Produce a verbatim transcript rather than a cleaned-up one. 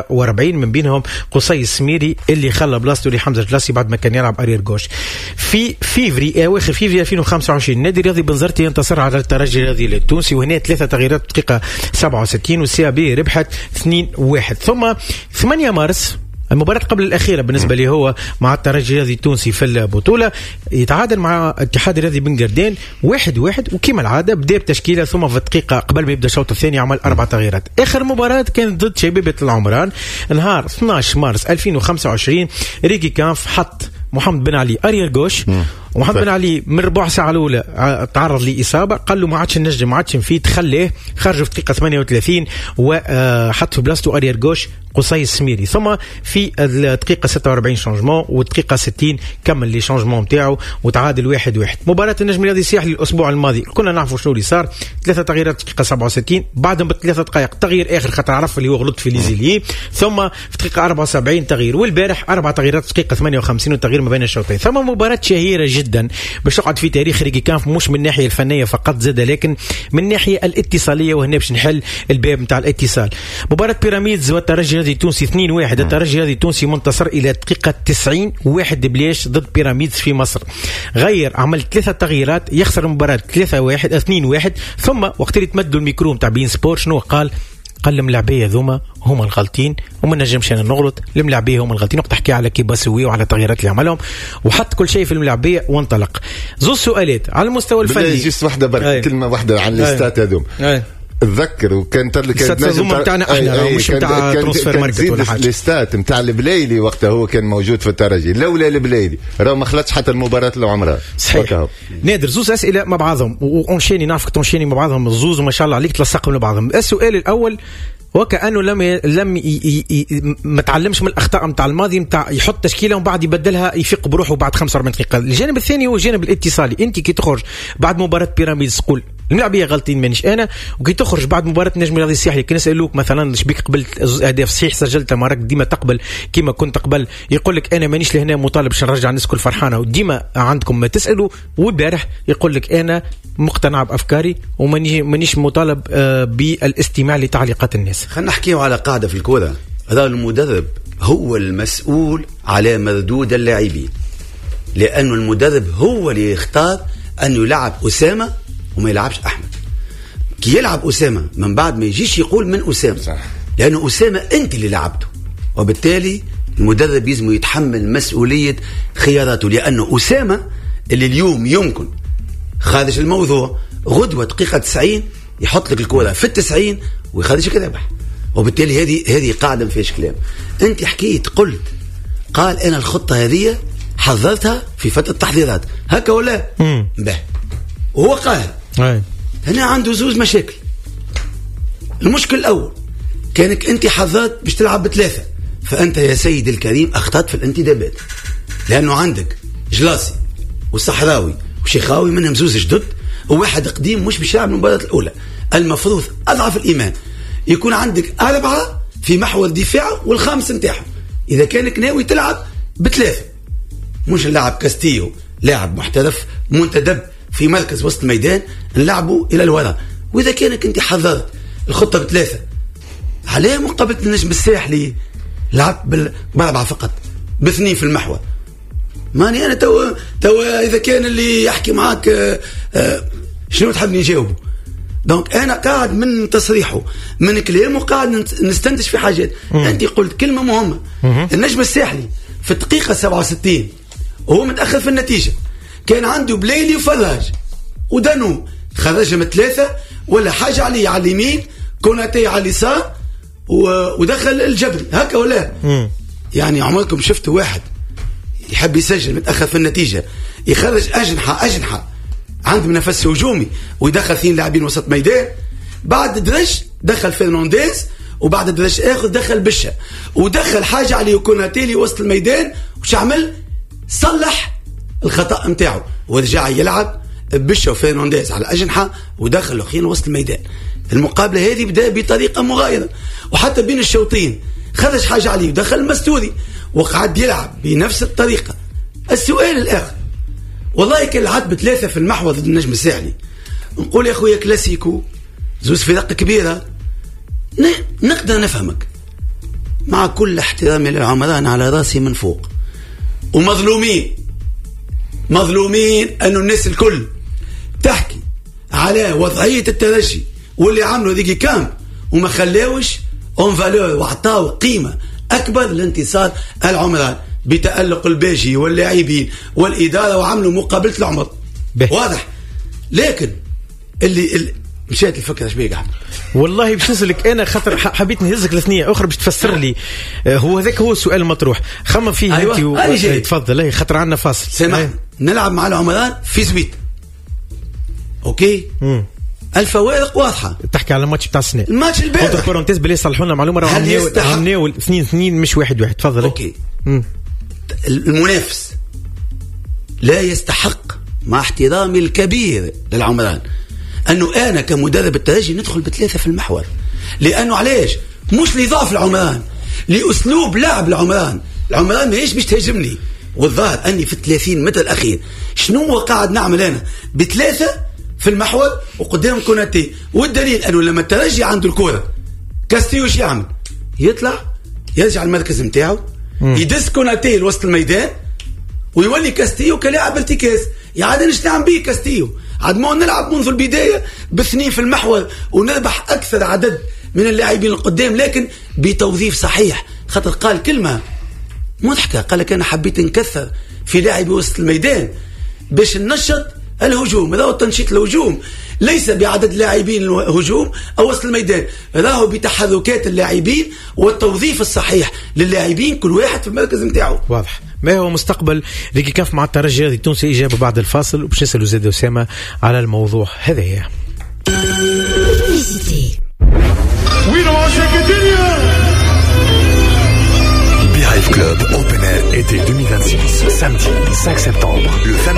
وأربعين من بينهم قصي السميري اللي خلى بلاصته لحمزة جلاسي بعد ما كان يلعب arrière gauche. في فيفري اواخر فيفري ألفين وخمسة وعشرين النادي الرياضي بنزرتي ينتصر على الترجي الرياضي التونسي، وهنا ثلاثة تغييرات دقيقة سبعة وستين وال CAB ربحت اثنين واحد. ثم ثمانية مارس المباراة قبل الأخيرة بالنسبة لي هو مع الترجي الرياضي التونسي في البطولة، يتعادل مع اتحاد الرياضي بن قردان واحد واحد، وكما العادة بدأ بتشكيلة، ثم في الدقيقة قبل ما يبدأ الشوط الثاني عمل أربع تغييرات. آخر مباراة كانت ضد شبيبة العمران نهار اثناش مارس ألفين وخمسة وعشرين، ريكي كانف حط محمد بن علي arrière gauche، ومحمد بن علي من ربع ساعة الأولى تعرض لإصابة، قال له ما عادش نجم ما عادش نفيد، خليه خرجه في دقيقة ثمانية وثلاثين وحط في بلاصته arrière gauche قصي السميري. ثم في الدقيقة ستة وأربعين changement، والدقيقة ستين كمل les changements نتاعو وتعادل واحد واحد. مباراة النجم الرياضي الساحلي الأسبوع الماضي كنا نعرفوا شنو اللي صار، ثلاثة تغييرات دقيقة سبعة وستين، بعدهم بثلاثة دقائق تغيير آخر خاطر عرف اللي هو غلط في les ailiers، ثم في دقيقة أربعة وسبعين تغيير، والبارح أربع تغييرات دقيقة ثمانية وخمسين وتغيير ما بين الشوطين. ثم مباراة شهيرة جدا باش تقعد في تاريخ ريكي كانف، مش من الناحية الفنية فقط زاد، لكن من الناحية الاتصالية، وهنا باش نحل الباب نتاع الاتصال. مباراة بيراميدز والترجي الرياضي التونسي اثنين واحد، الترجي الرياضي التونسي منتصر الى دقيقة تسعين واحد بلاش ضد بيراميدز في مصر. غير عمل ثلاثة تغييرات، يخسر المباراة ثلاثة واحد اثنين واحد. ثم وقت اللي تمدوا الميكرو نتاع بين سبور شنو قال؟ قال الملاعبيه ذوما هما الغالطين وما نجمش انا نغلط، الملاعبيه هما الغالطين. وقت تحكي على كيباسوي وعلى التغييرات اللي عملهم، وحط كل شيء في الملاعبيه وانطلق. زوج سؤالات على المستوى الفني، juste واحدة برك، كلمة واحدة عن les stats هذوم. اتذكر وكان كان نجم نتاعنا احنا مش نتاع Transfermarkt ولا حاجة، les stats نتاع البلايلي وقتها هو كان موجود في الترجي، لولا البلايلي راه ما خلطش حتى المباراة اللي عمرها. صحيح. نادر زوز اسئلة مع بعضهم و enchaîner، نعرفك ت enchaîner مع بعضهم الزوز وما شاء الله عليك تلصقهم لبعضهم. السؤال الاول، وكأنه لم ي... لم ي... ي... ما تعلمش من الاخطاء نتاع الماضي، نتاع يحط تشكيله ومن بعد يبدلها يفيق بروحه بعد خمسة وأربعين دقيقة. الجانب الثاني هو الجانب الاتصالي، انت كي تخرج بعد مباراة بيراميدز تقول الملاعبيه غلطين مانيش انا، وكي تخرج بعد مباراة النجم الرياضي الساحلي كي نسالوك مثلا شبيك قبلت اهداف صحيح سجلت ما راك ديما تقبل كيما كنت قبل، يقول لك انا مانيش لهنا مطالب باش نرجع الناس كل فرحانة، وديما عندكم ما تسالوا. والبارح يقول لك انا مقتنع بافكاري ومانيش مانيش مطالب بالاستماع لتعليقات الناس. خلينا نحكيو على قاعدة في الكره، هذا المدرب هو المسؤول على مردود اللاعبين، لأنه المدرب هو اللي يختار أن يلعب أسامة وما يلعبش أحمد. كي يلعب أسامة من بعد ما يجيش يقول من أسامة، صح. لأنه أسامة أنت اللي لعبته، وبالتالي المدرب يلزم يتحمل مسؤولية خياراته، لأنه أسامة اللي اليوم يمكن خارج الموضوع غدوة دقيقة تسعين يحط لك الكرة في التسعين ويخرجك رابح، وبالتالي هذه هذه قاعدة ما فيهاش كلام. أنت حكيت قلت قال أنا الخطة هذه حضرتها في فترة التحضيرات هكا ولا به، وهو قال هنا عنده زوز مشاكل. المشكل الأول كانك أنت حضرت باش تلعب بثلاثة، فأنت يا سيد الكريم أخطأت في الانتدابات، لأنه عندك جلاسي وصحراوي وشيخاوي منهم زوز جدد وواحد قديم مش باش يلعب المباراة الأولى. المفروض أضعف الإيمان يكون عندك أربعة في محور دفاع والخامس نتاعهم، إذا كانك ناوي تلعب بثلاثة، مش نلعب كاستيو لاعب محترف منتدب في مركز وسط الميدان نلعبه إلى الوراء. وإذا كانك أنت حضرت الخطة بثلاثة، علاه مقابلة النجم الساحلي لعبت بأربعة فقط باثنين في المحور؟ ماني أنا تو تو إذا كان اللي يحكي معاك آه آه شنو تحبني نجاوبه؟ donc أنا قاعد من تصريحه من كلامه قاعد نستنتج في حاجات. مم. أنت قلت كلمة مهمة. مم. النجم الساحلي في الدقيقة سبعة وستين وهو متأخر في النتيجة كان عنده بليلي وفراج ودانو، خرجهم ثلاثة ولا حاجة عليه على اليمين كوناتي على اليسار ودخل الجبل هكا ولا؟ مم. يعني عمركم شفتوا واحد يحب يسجل متأخر في النتيجة يخرج أجنحة أجنحة عنده نفس هجومي ويدخل اثنين لاعبين وسط ميدان؟ بعد درج دخل فرنانديز، وبعد درج آخر دخل بشة، ودخل حاجة عليه كوناتيلي وسط الميدان، وش عمل؟ صلح الخطأ متاعه ورجع يلعب بشة وفرنانديز على الأجنحة ودخل الأخير وسط الميدان. المقابلة هذه بدأ بطريقة مغايرة، وحتى بين الشوطين خرج حاجة عليه ودخل المستوري وقعد يلعب بنفس الطريقة. السؤال الآخر، والله كان لعبت بثلاثة في المحور ضد النجم الساحلي، نقول يا خويا كلاسيكو زوز فرق كبيرة نقدر نفهمك، مع كل احترامي للعمران على راسي من فوق، ومظلومين مظلومين انه الناس الكل تحكي على وضعية الترجي واللي عملوا ريغيكامب وما خلاوش en valeur وعطاو قيمة اكبر لانتصار العمران بتالق الباجي واللاعبين والادارة، وعملوا مقابله العمر. به. واضح. لكن اللي, اللي مشات الفكرة شبيك احمد؟ والله باش نسألك انا خاطر حبيت نهزك لثنيه اخرى باش تفسر لي، هو هذاك هو السؤال المطروح، خمم فيه. أيوة. انت و... أنا جاي. تفضل، خاطر عندنا فاصل. سامح، نلعب مع العمران في زويت، OK. مم. الفوارق واضحة. تحكي على الماتش بتاع السنة، الماتش البارح. entre parenthèses بالله صلحوا لنا معلومه، راهو عمناول اثنين اثنين مش واحد واحد. تفضل. OK. مم. المنافس لا يستحق، مع احترامي الكبير للعمران، انه انا كمدرب الترجي ندخل بثلاثة في المحور، لانه علاش؟ مش لضعف العمران، لاسلوب لعب العمران. العمران ماهيش باش تهاجمني، والظاهر اني في الثلاثين متر الاخير شنو قاعد نعمل انا بثلاثة في المحور وقدام كوناتي؟ والدليل انه لما الترجي عنده الكره كاستيو شو يعمل؟ يطلع يرجع المركز نتاعو، يدس كوناتي لوسط الميدان ويولي كاستيو كلاعب ارتكاز. يعني انا نعم بيه كاستيو، عاد ما نلعب منذ البداية باثنين في المحور ونربح اكثر عدد من اللاعبين القدام، لكن بتوظيف صحيح. خاطر قال كلمة مضحكة، قال لك انا حبيت نكثر في لاعبي وسط الميدان باش ننشط الهجوم. راهو تنشيط الهجوم ليس بعدد لاعبين الهجوم او وسط الميدان، راهو بتحركات اللاعبين والتوظيف الصحيح للاعبين، كل واحد في المركز نتاعو. واضح. ما هو مستقبل ريغيكامب مع الترجي الرياضي التونسي؟ اجابه بعد الفاصل، وباش نسالوا زاد اسامة على الموضوع هذايا. Beehive Club Open Air été deux mille vingt-six, samedi cinq septembre. Le fameux